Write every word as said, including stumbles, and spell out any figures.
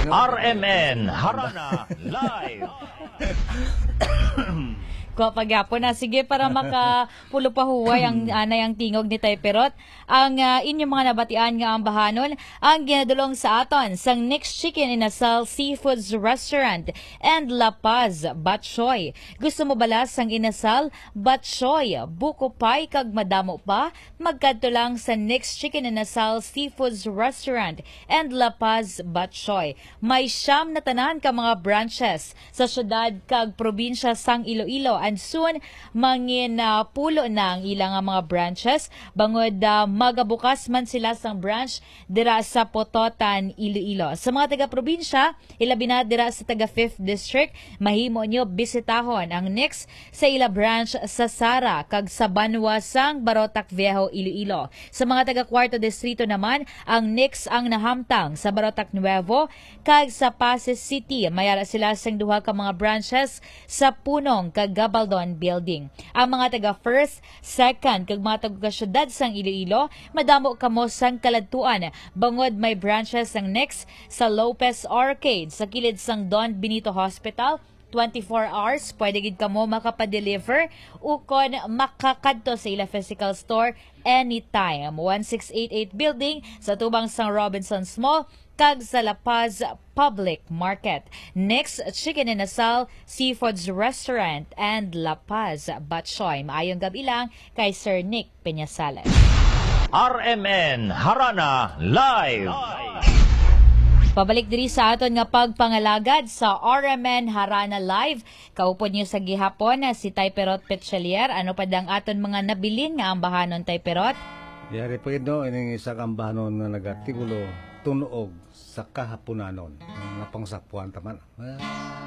R M N Harana Live. Kuha pa gyapon na. Sige, para makapulo pa huway ang anay ang tingog ni Tay Perot. Ang ah, inyong mga nabatian nga ambahanon ang ginadulong sa aton sang Nick's Chicken Inasal Seafoods Restaurant and La Paz Batchoy. Gusto mo bala sang inasal, batchoy, buko pie kag madamo pa? Magkadto lang sa Nick's Chicken Inasal Seafoods Restaurant and La Paz Batchoy. May siyam na tanan ka mga branches sa syudad kag probinsya sang Iloilo, and soon mangin ah, pulo na ang ila nga mga branches bangod ah, magabukas man sila sang branch dira sa Pototan, Iloilo. Sa mga taga-probinsya, ilabi na dira sa taga Fifth District, mahimo nyo bisitahon ang Nix sa ila branch sa Sara kag sa Banwa sang Barotac Viejo, Iloilo. Sa mga taga Cuarto Distrito naman, ang Nix ang nahamtang sa Barotac Nuevo kag sa Passi City. May ara sila sing duha ka mga branches sa Punong kag Gabaldon Building. Ang mga taga First, Second, kag mga taga-syudad sang Iloilo, madamo kamo sang kaladtuan bangod may branches sang Nix sa Lopez Arcade, sa kilid sang Don Benito Hospital. Twenty-four hours, pwede gid kamo makapadeliver ukon makakadto sa ila physical store anytime. One six eight eight building sa tubang sang Robinsons Mall kag sa La Paz Public Market. Nix Chicken Inasal, Seafoods Restaurant, and La Paz Batchoy. Maayong gabi lang kay Sir Nick Peñasales. R M N Harana Live. Pabalik diri sa aton nga pagpangalagad sa R M N Harana Live. Kaupod niyo sa gihapon na si Tay Perot Petchelier. Ano pa dang aton mga nabilin nga ambahanon, Tay Perot? Yari pa gid, no, ining isa ka ambahanon nga nagatigulo, Tunog sa Kahaponanon. Napangsapuan ta man. Ah.